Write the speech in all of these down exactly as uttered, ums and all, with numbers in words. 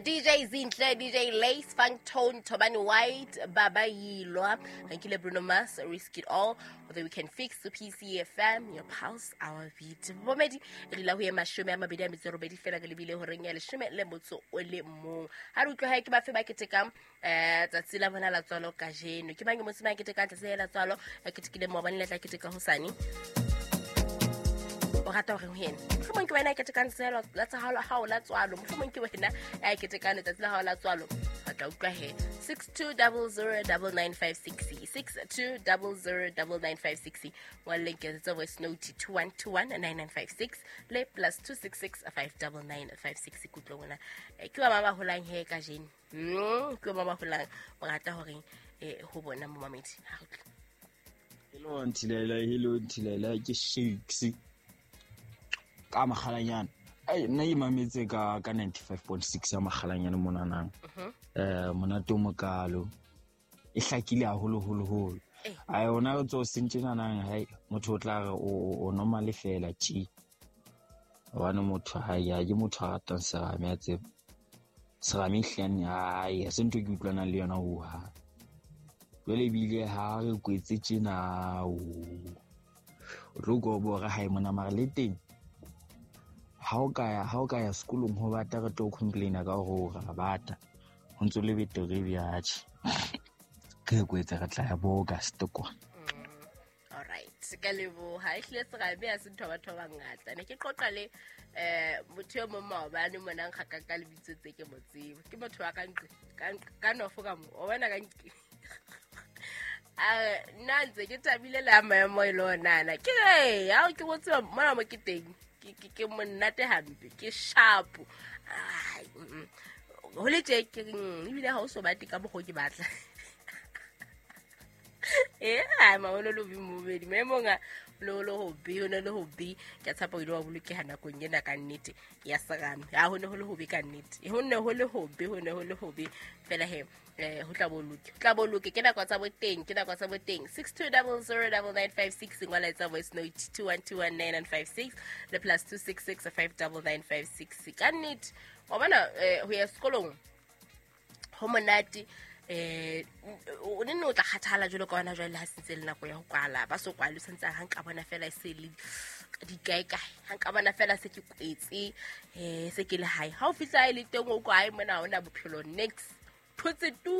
D J Zinhle, D J Lace, Funk Tone, Tobani White, Baba Yilwa, Nkile Bruno Mars, Risk It All, The Weekend Fix, P C F M, your pulse, our beat. Bomedi, e dula ho ye mashome a mabedi a metso e robedi fela re lebile horeng ya leshome le motso o le mong. Ha re utlwe hae ke bafe ba ketekang um tsatsi la bona la tswalo kajeno. Ke mang e motse ba ketekang tsatsi la tswalo, a ketekile maobane le tla keteka hosane? O rata horeng ho yena? Mohlomong ke wena a ketekang tsatsi la la hao la tswalo, mohlomong ke wena a ketekang letsatsi la hao la tswalo. Re tla utlwa he. six two zero zero nine nine five six, six two zero zero nine nine five six. Ngwalleng tsa voice note two one two one nine nine five six le plus two six six five nine nine five six. Kutlwe ngwana, ke ba ba ba holang he kajeno. mm ke ba ba holang, o rata horeng eh ho bona momamedi? Ha re utlwe. Hello Ntilela, hello Ntilela, ke Shakes ka Makgalanyane. Ai, nna ke mametse ka ka ninety-five point six ya Makgalanyane monanang. Eh monate o mokalo. E hlakile haholo holo holo. Ai, ona re tso sentjenanang hai motho o tla re o o normal fela tji. Hobane motho ha ya ke motho a ratang serame, a tseba. Serame hlane ai, ha se ntho ke utlwanang le yona ho hang. Jwale ebile ha re kwetse tjena o o tlo utlwa o bora hae mona, mara le teng ha o ka ya ha o ka ya sekolong ho bata, re tlo complaina ka hore o ra bata, ho ntso le betere bjatjhe. Re kwetse, re tla ya bo August kwa. Alright, ka leboha. Ehlile serame ha se ntho ya batho ba bangata. Ne ke qoqa le eh motho e mong maobane mona, nkgaka ka lebitso tse ke mo tsebe. Ke motho wa ka nqe ka nqe ka nofo ka mo o bona ka nqe. A nna ntse ke thabile le a maemo e le onana. Ke re ha ke go tseba mona mo ke teng, ke ke ke monate hampe, ke sharp. Ai, mm, ho le tje ke reng, ebile ha o so bate ka mokgwa o ke batla. Eh, ai maono lo bimobedi maemong a lo lo hobe, ho ne le hobe. Ke a tshepa o ile wa bolokeha nakong ena ka nnete ya serame. Ha ho ne ho le hobe ka nnete, ho ne ho le hobe, ho ne ho le hobe fela he. eh ho tla bo loke, ho tla bo loke. Ke nako tsa boteng, ke nako tsa boteng. six two zero zero nine nine five six, ngwala etsa voice note two one two one nine nine five six le plus two six six five nine nine five six. Ka nnete wa bona, eh ho ya sekolong ho monate. eh o ne o tla kgathala jwalo ka wena jwale ha sentse le nako ya ho kwala, ba so kwale, o santse ha nka bona fela e se le di kae kae, ha nka bona fela se ke kwetse, eh se ke le hae. Ha o fihla e le teng, o kwa hae mona ha ona bophelo next, thotse tu.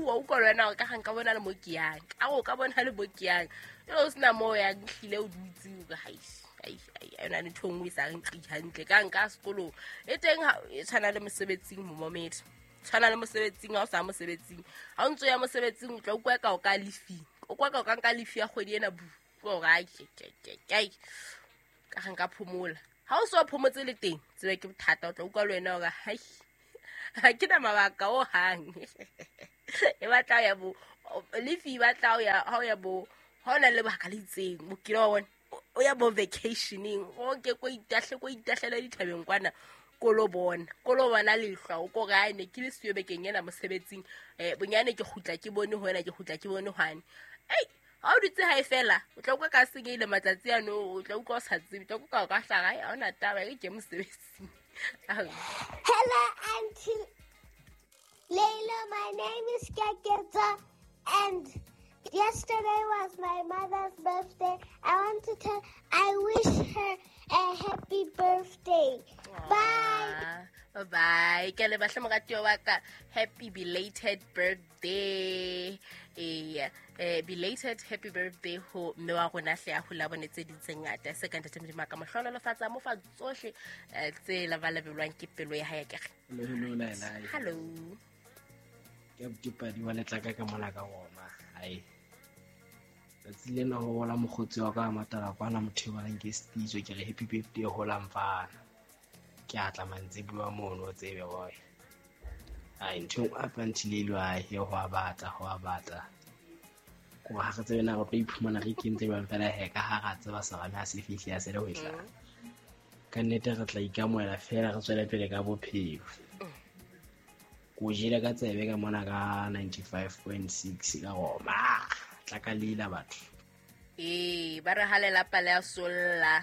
Wa utlwa le wena hore ka ga nka bona le mo ke yang, ka o ka bona le mo ke yang jwale, o sena mo o yang, hlile o dutse o re hai ai ai, yona ntho e nngwe e sa re nqi hantle ka nka sekolong e teng. Ha e tshwana le mosebetsing, momamedi, tshwana le mosebetsing. Ha o sa mosebetsing, ha o ntso ya mosebetsing, o tla utlwa ka o ka lefi, o kwa ka o ka nka lefi ya kgwedi ena bu hore ai ke ke ke ke ka ga nka phomola. Ha o so phomotse le teng, tsebe ke bothata. O tla utlwa le wena hore hai, ha ke na mabaka o hang. E batla ya bo lefi, e batla ya ha o ya bo ha o na le lebaka le itseng, o kile wa bona o ya bo vacationeng, o ke ko itahle, ko itahlele dithabeng kwana, ko lo bona ko lo bona lehlwa, o ko re ai, ne ke le siyo bekeng ena mosebetsing, um bonyane ke kgutla ke bone ho ena, ke kgutla ke bone hwane. Ei, ha o dutse hae fela, o tla utlwa ka senyehile matsatsi ano, o tla utlwa o sa tsebe, o tla utlwa o ka hlaga ha ona taba e ke mosebetsing. Hello, Auntie Layla. My name is Kaketa, and yesterday was my mother's birthday. I want to tell, I wish her a happy birthday. Bye. Bye bye. Ke le bahle moratuwa wa ka, happy belated birthday. Eh, eh belated happy birthday ho mme wa rona hle, a hola bone tse ding tse ngata. Se ka ntate Modimo a ka mo hlohonolofatsa, mo fa tsohle eh, tse labalabelwang ke pelo ya hae ke re. Hello, hello, Laila. Hello. Ke ke padi wa letlaka ka mola ka goma. Hai. Tsatsi lena ho hola mokgotsi wa ka matala kwana, motho e bonang ke Stitso, ke re happy birthday hola mfana. Ke a tla mantsibuwa mono, o tsebe boy. Ai, ntho e nngwe hape Auntie ai e ho a batla, ho a batla. Ko ha re tsebe na re tlo iphumana re ikentse jwang fela he, ka ha ra tseba serame ha se fihle ya se le ho e tla. Ka nnete re tla ikamohela fela, re tswele pele ka bophelo. Ko jele ka tsebe ka mona ka ninety-five point six ka Roma. Tla ka leila batho. Ee, ba re ha lelapa le a solla.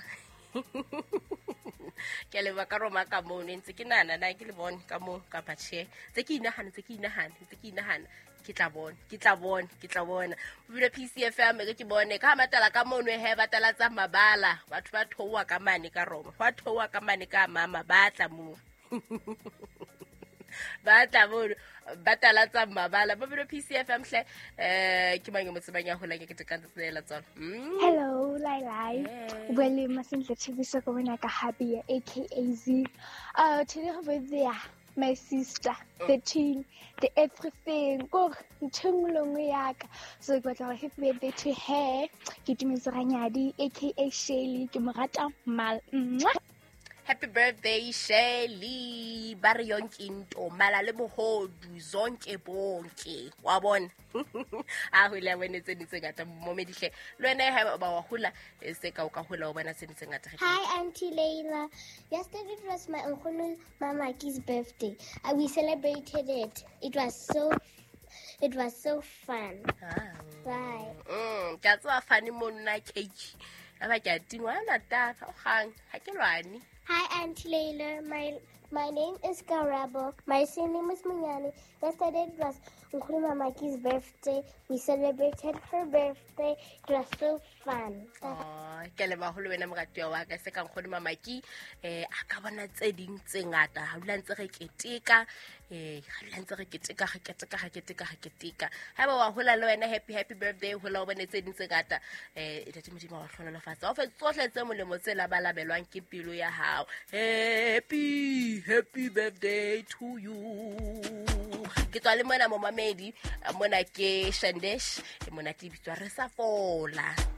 Ke a leboha ka Roma ka moo ne ntse ke nahana na ke le bone ka moo kapa tjhe. Tse ke inahana, tse ke inahana, tse ke inahana. Ke tla bona, ke tla bona, ke tla bona. Bobile P C F M ke ke bone ka matala ka mono he ba tala tsa mabala. Batho ba thowa ka mane ka Roma. Ba thowa ka mane ka mama ba tla mo. Ba tla mo ba tala tsa mabala. Bobile P C F M hle eh ke mang mo tsebang ya hola ke ke ka tsela tsona. Hello Lai Lai. Well masentle tshebisa go bona ka Happy A K A Z. Uh today go there my sister, the twin, the everything. Go ntho yaka. So ke batla happy birthday to her. Ke Tumetso Ranyadi A K A Shelly ke mo rata mal. Happy birthday Shelly. Ba re yonke into mala le bohodu zonke bonke. Wa bona. A hula wena tse ntse ngata momedihle. Le wena ha ba wa hula se ka o ka hula o bona tse ntse ngata. Hi Auntie Leila. Yesterday it was my uncle Mamaki's birthday. Uh, we celebrated it. It was so it was so fun. Ah. Bye. Mm, ka tswa fane mo nna cake. Aba ke a tingwa na tata o gang ha ke lwane. Hi Auntie Leila, my my name is Karabo. My surname is Munyani. Yesterday it was Uncle Mamaki's birthday. We celebrated her birthday. It was so fun. Oh, ke le baholo wena moratuwa wa ka se ka nkgono Mamaki eh a ka bona tse ding tse ngata ha dula ntse re keteka eh ha dula ntse re keteka re keteka re keteka re keteka ha ba wa hola le wena happy happy birthday hola o bone tse ding tse ngata eh ntate Modimo wa hlonolofatsa o fe tsohle tse molemo tse labalabelwang ke pelo ya hao. Happy happy birthday to you. Ke tswa le mona momamedi mona ke Shandesh mona ke bitswa re sa fola.